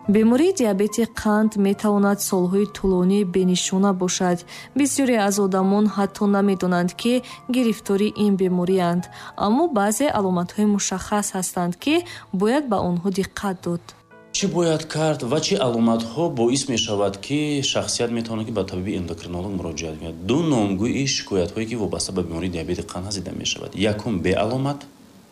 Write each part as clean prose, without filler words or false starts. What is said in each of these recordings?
Бемории диабети қанд метавонад солҳои тӯлонӣ бенишона бошад. Бисёре аз одамон ҳатто намедонанд, ки гирифтори ин беморианд, аммо баъзе аломатҳои мушаххас ҳастанд, ки бояд ба онҳо диққат дод. Чӣ бояд кард ва чӣ аломатҳо боис мешавад, ки шахсият метавонад, ки ба табиби эндокринолог муроҷиат кунад? Ду номгӯи шикоятҳое, ки вобаста ба бемории диабети қанд ҳаст, дида мешавад. Якум, беаломат,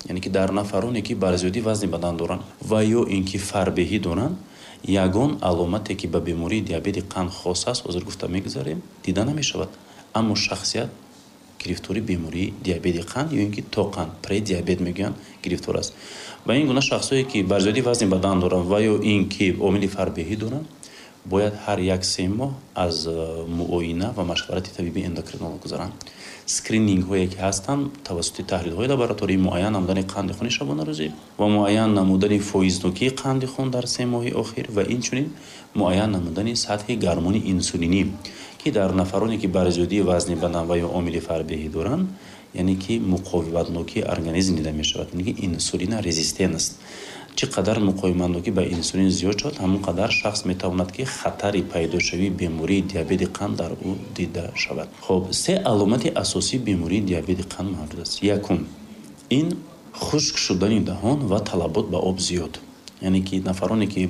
яъне ки дар нафароне, ки бар зиёдии вазни бадан доранд ва ё ин ки фарбеҳӣ доранд, ягон аломате, ки ба бемории диабети қанд хос аст, ҳозир гуфта мегузарем, дида намешавад, аммо шахсият гирифтори бемории диабети қанд ё ин ки тоқанд, предиабет мегӯянд, гирифтор аст. Ба ин гуна шахсое, ки бар зиёдии вазни бадан доранд ва ё ин ки омили фарбеҳӣ доранд, бояд ҳар як 3 моҳ аз муоина ва машварати табиби эндокринолог гузаранд. Скринингҳое, ки ҳастанд, тавассути таҳлилҳои лаборатории, муайян намудани қанди хуни шабонарӯзӣ ва муайян намудани фоизнокии қанди хун дар 3 моҳи охир ва инчунин муайян намудани сатҳи гормони инсулинӣ, ки дар нафароне, ки бар зиёдии вазни бадан ва ё омили фарбеҳӣ доранд, яъне ки муқовиматнокии организм дида мешавад, яъне ки инсулинорезистентность. Чӣ қадар муқовиматнокӣ ба инсулин зиёд шавад, ҳамон қадар шахс метавонад, ки хатари пайдошавии бемории диабети қанд дар ӯ дида шавад. Хоб, се аломати асосии бемории диабети қанд мавҷуд аст. Якум, ин хушк шудани даҳон ва талабот ба об зиёд, яъне ки нафароне, ки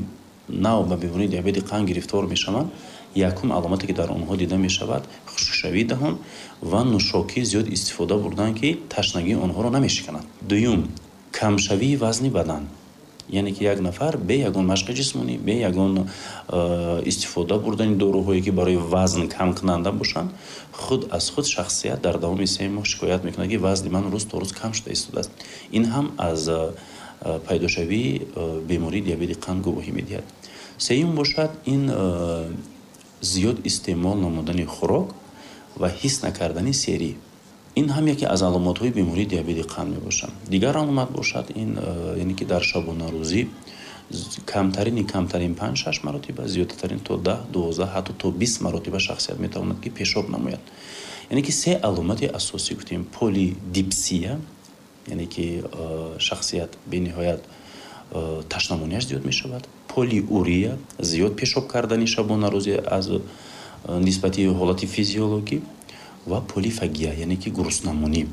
нав ба бемории диабети қанд гирифтор мешаванд, якум аломате, ки дар онҳо дида мешавад, хушкшавии даҳон ва нӯшокӣ зиёд истифода бурдан, ки ташнагии онҳоро намешиканад. Дуюм, камшавии вазни бадан, яъне ки як нафар бе ягон машқи ҷисмонӣ, бе ягон истифода бурдани доруҳое, ки барои вазн камкунанда бошанд, худ аз худ шахсият дар давоми 3 моҳ шикоят мекунад, ки вазни ман рӯз то рӯз кам шуда истодааст. Ин ҳам аз пайдошавии бемории диабети қанд гувоҳӣ медиҳад. Сеюм бошад, ин зиёд истеъмол намудани хӯрок ва ҳис накардани серӣ. Ин ҳам яке аз аломатҳои бемории диабети қанд мебошад. Дигар аломат бошад, ин яъне ки дар шабонарӯзӣ камтарини камтарин 5-6 маротиба, зиёдтарин то 10, 12, ҳатто то 20 маротиба шахсият метавонад, ки пешоб намояд. Яъне ки се аломати асосӣ гуфтем: полидипсия, яъне ки шахсият бениҳоят ташнамонияш зиёд мешавад, полиурия, зиёд пешоб кардани шабонарӯзӣ аз нисбати ҳолати физиологӣ, ва полифагия, яъне ки гуруснамонӣ.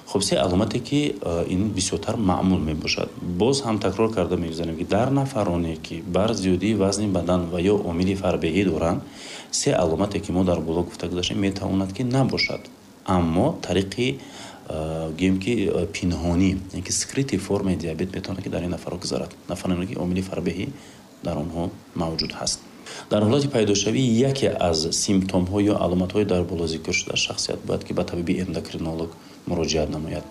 Хуб, се аломате, ки ин бисёртар маъмул мебошад. Боз ҳам такрор карда мегузарем, ки дар нафароне, ки бар зиёдии вазни бадан ва ё омили фарбеҳӣ доранд, се аломате, ки мо дар боло гуфта гузаштем, метавонад, ки набошад, аммо тариқи гӯем, ки пинҳонӣ, яъне ки скрытый формаи диабет метавонад, ки дар ин нафарҳо гузарад, нафароне, ки омили фарбеҳӣ дар онҳо мавҷуд ҳаст. Дар ҳолати пайдошавии яке аз симптомҳо ё аломатҳои дар боло зикр шуда, шахсият бояд, ки ба табиби эндокринолог муроҷиат намояд.